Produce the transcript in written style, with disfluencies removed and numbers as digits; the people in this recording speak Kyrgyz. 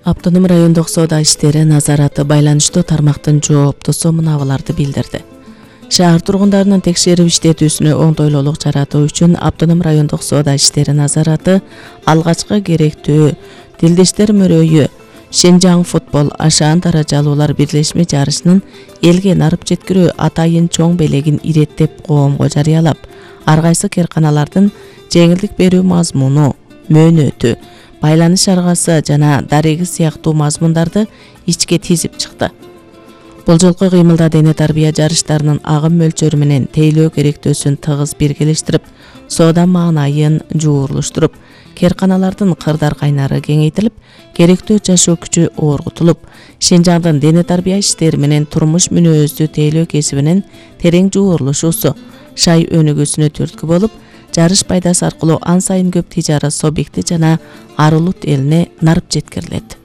Автоном райондук соода иштери назараты байланыштуу тармактын жооптусу мынабыларды билдирди. Шаар тургундарынын текшерип иштетүүсүнө оңдойлуулук жаратуу үчүн Автоном райондук соода иштери назараты алгачкы керектүү Дилдештер мөрөйү Шенжаң футбол ашаан даражалуулар бирлешме жарышынын элге нарып жеткирүү атайын чоң белегин иреттеп коомго жарыялап, ар кайсы керканалардын жеңилдик берүү мазмуну, мөөнөтү, байланыш аргасы жана дареги сыяктуу мазмундарды ичке тизип чыкты. Бул жолку кыймылда дене тарбия жарыштарынын агым мөлчөрү менен тейлөө керектөөсүн тыгыз биргелештирип, соода маанайын жуурулуштуруп, керканалардын кырдар кайнары кеңейтилип, керектүү жашоо күчү оргутулуп, Шенжаңдын дене тарбия иштери менен турмуш мүнөздүү тейлөө кесибинин терең жуурулушуусу шай өнүгүүсүнө түрткү болуп, жарыш пайдасы аркылуу ан сайын көп тижарат субъекти жана ар улут элине нарып жеткирилет.